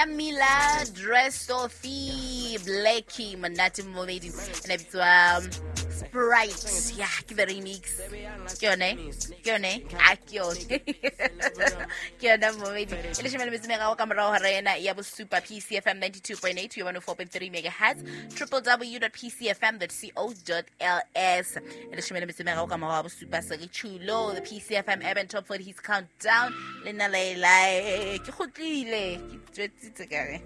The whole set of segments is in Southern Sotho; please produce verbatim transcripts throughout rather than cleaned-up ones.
Ya Mila Dressophy Blackie monate momedi ena bitswa Sprite. Ya ke the remix. Ke yone, ke yone, a ke yone. Ke yona momedi. E leshome le metso e meraro ka morao hora ena ya bosupa P C F M ninety-two point eight, one oh four point three megahertz, w w w dot p c f m dot co dot l s. E leshome le metso e meraro ka morao ha bosupa se re tjhulo, the P C F M Urban Top forty Hits Countdown. Le nna Laelai, ke kgutlile, ke tswetsitse ka re.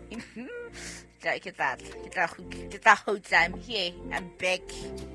Ke tla, ke tla, ke tla kgutla. I'm here, I'm back.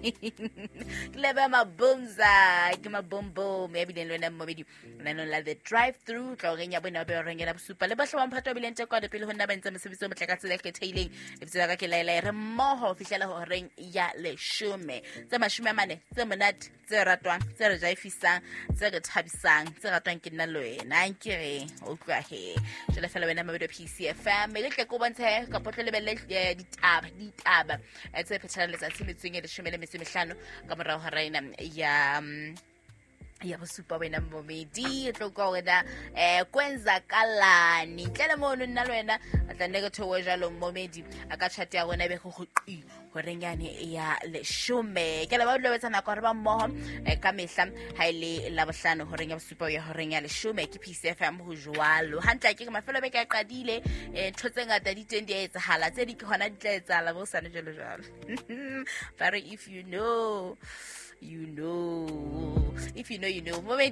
Ke leba mabumza, ke mabombo, mme ebile le wena mmobedi, lenaneo la The Drive Through, tla o reng ya bone, ba o reng ya bosupa. Le bohle ba mphato ba bileng teng kwano pele ho nna ba ntse mosebetsi o motle ka tsela e kgethehileng. Lebitso la ka ke Laelai, re mmoho ho fihlela horeng ya leshome. Tse mashome a mane, tse monate, tse ratwang, tse re jaifisang, tse re thabisang, tse ratwang ke nna le wena. Nkere, o utlwa he. Jwale fela wena mmobedi wa P C F M, mme ke tle ke o bontshe kapa o tlo lebelle, eh, ditaba, ditaba, eh, tse phethalang letsatsi metsong e leshome le metso e mehlano ka morao hora ena ya, mm, ya bosupa wena mmomedi. E tlo utlwa hore na, eh, kwenzakalani. Ntle le mono nna le wena, a tla nne ke theohe jwalo mmomedi, a ka chat ya rona e be go go qi horeng yane ya leshome. Ke leboha ho dula o etsa nako hore ba mmoho, eh, ka mehla ha e le Labohlano horeng ya bosupa ho ya horeng ya leshome. Ke P C F M ho jwalo. Hantle ke re mafelo a beke a qadile, eh, ntho tse ngata di teng di a etsahala, tse ding ke hona di tla etsahala bo hosane jwalo jwalo. Ba re if you know, you know. If you know, you know. Momedi